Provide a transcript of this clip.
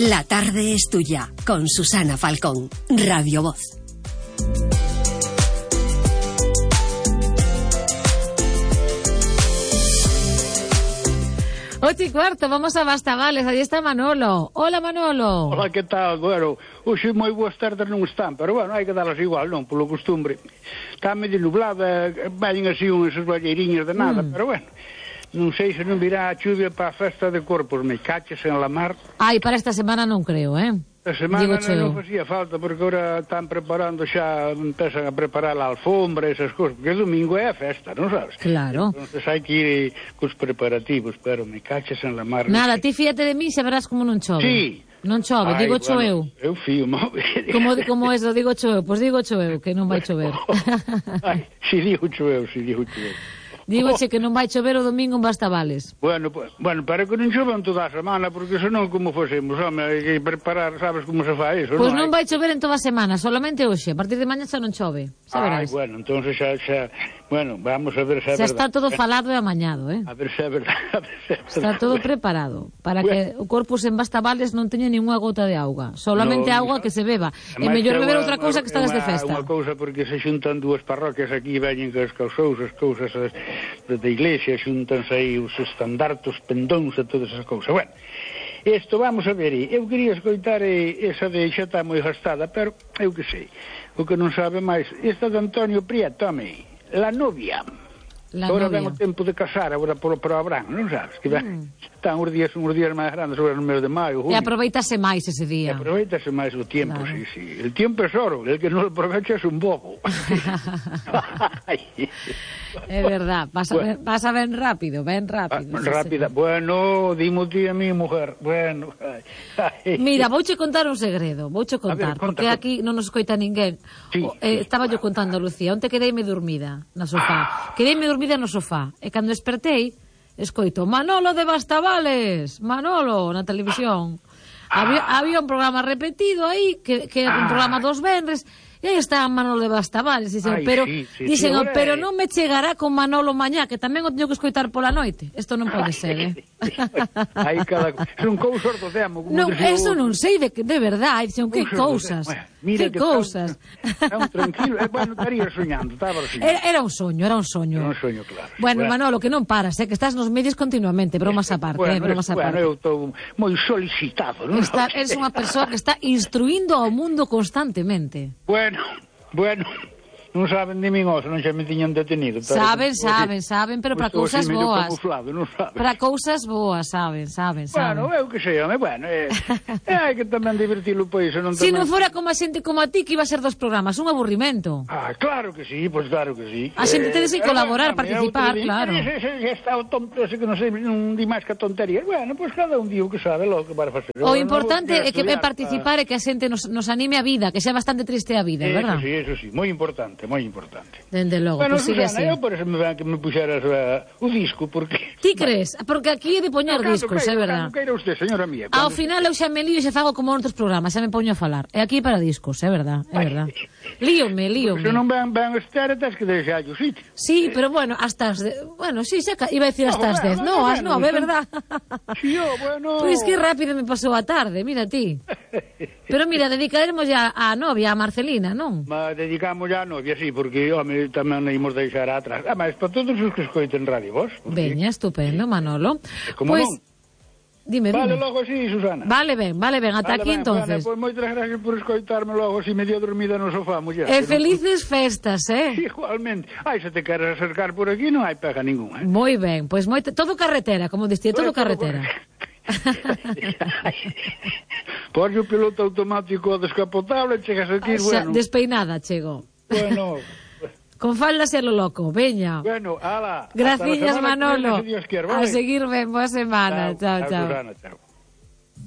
La tarde es tuya, con Susana Falcón, Radio Voz. Ocho y cuarto, vamos a Bastavales, aí está Manolo. Hola, Manolo. Hola, que tal? Bueno, hoxe moi boas tardes non están, pero bueno, hai que darlas igual, non, polo costumbre. Está medio nublada, vayan así unhas balleiriñas de nada, pero bueno, non sei se non virá a chuvia para a festa de Corpus, me caches en la mar. Ai, para esta semana non creo, Esta semana non facía falta, porque agora están preparando xa, empezan a preparar a alfombra e esas cosas, porque o domingo é a festa, non sabes? Claro. Entonces hai que ir cos preparativos, pero me caches en la mar. Nada, ti fíate de mí, xa verás como non chove. Sí. Non chove, digo cho eu. Eu fío, móvil. Como eso, digo cho eu, pois digo cho eu, que non vai chover. Ai, si digo cho eu. Dígoche que non vai chover o domingo en Bastavales. Bueno, para que non chovan toda a semana, porque senón como fosemos, home, hai que preparar, sabes como se fai eso, Pois non vai chover en toda a semana, solamente hoxe, a partir de mañá xa non chove, xa verás. Bueno, entonces xa, bueno, vamos a ver se é verdade. Xa está todo falado e amañado, A ver se é verdade, Está todo preparado, para que o Corpus en Bastavales non teña ninguna gota de auga, solamente auga que se beba, e mellor beber outra cousa que estades de festa. Unha cousa porque se xuntan dúas parroquias aquí, veñen que as cousas da iglesia, xuntanse aí os estandartos, pendóns e todas esas cousas. Bueno, isto vamos a ver, eu quería escoitar esa de xa está moi gastada, pero eu que sei, o que non sabe máis, esta de Antonio Prieto, home, la novia. Agora ven o tempo de casar, agora polo Abraham, non sabes? Que están uns días máis grandes, agora no mes de maio, junio. E aproveitase máis ese día. Aproveitase máis o tiempo, claro. Sí. El tiempo es oro, el que non lo aprovecha es un bobo. É verdad, pasa ben rápido. Rápida, sí. Bueno, dimo ti a mi mujer, bueno. Mira, vouche contar un segredo, ver, porque aquí non nos escoita ninguén. Sí, estaba yo contando a Lucía, onte quedeime dormida no sofá, no sofá, e cando despertei, escoito, Manolo de Bastavales, Manolo, na televisión. Había un programa repetido aí, que era un programa dos venres, e aí está Manolo de Bastavales, dicen, pero non me chegará con Manolo mañá, que tamén o teño que escoitar pola noite. Isto non pode ser, Aí son cousas do demo. Non, eso non sei, de verdade, dicen, que cousas. Que cousas. Tranquilo, bueno, estaría soñando, estaba soñando. Era un soño. Era un soño, claro. Bueno, Manolo, que non paras, que estás nos medios continuamente, bromas aparte, bromas aparte. Bueno, eu estou moi solicitado, non? Eres unha persoa que está instruindo ao mundo constantemente. Bueno, non saben de min oso, non xa me tiñan detenido. Saben, pero para cousas boas. Para cousas boas, saben. Bueno, eu que sei, home, bueno, hai que tamén divertilo, pois. Se non fora como a xente como a ti, que iba a ser dos programas, un aburrimento. Claro que sí, pois claro que sí. A xente tedes que colaborar, participar, claro. Está o tonto, ese que non sei, non di máis que tonterías. Bueno, pois cada un di o que sabe, lo que para facer. O importante é que participar e que a xente nos anime a vida, que sea bastante triste a vida, verdad? Eso sí, moi importante. Dende logo, bueno, pues sigue así. Eu por eso me van que me puxeras o disco, porque... Ti crees? Porque aquí é de poñer discos, é verdad. Cando queira usted, señora mía. Ao final eu xa me lío e xa fago como noutros programas, xa me poño a falar. E aquí para discos, é verdad. Líome. Se non van estar, tens que deixar o sitio. Sí, pero bueno, hasta as... Bueno, sí, xa iba a decir hasta as 10. No, as 9, é verdad. Sí, bueno... Pois que rápido me pasou a tarde, mira ti. Pero mira, dedicaremos ya a novia, a Marcelina, non? Dedicamos ya a novia, sí, porque, home, tamén imos deixar atrás. Mas para todos os que escoiten Radio Voz. Veña, estupendo, Manolo. Como non? Dime. Vale, logo así, Susana. Vale ben, ata aquí entonces. Pois moitas gracias por escoitarme logo así medio dormida no sofá, muller. E felices festas, Igualmente. Se te queres acercar por aquí, non hai pega ningún, Moi ben, pois todo carretera, como distía, todo carretera. Pois o piloto automático descapotable, chegas aquí, bueno. Despeinada, chego. Bueno... Con faldas e lo loco, veña. Bueno, ala. Gracias, Manolo. A seguir ben, boa semana. Chao. Chao.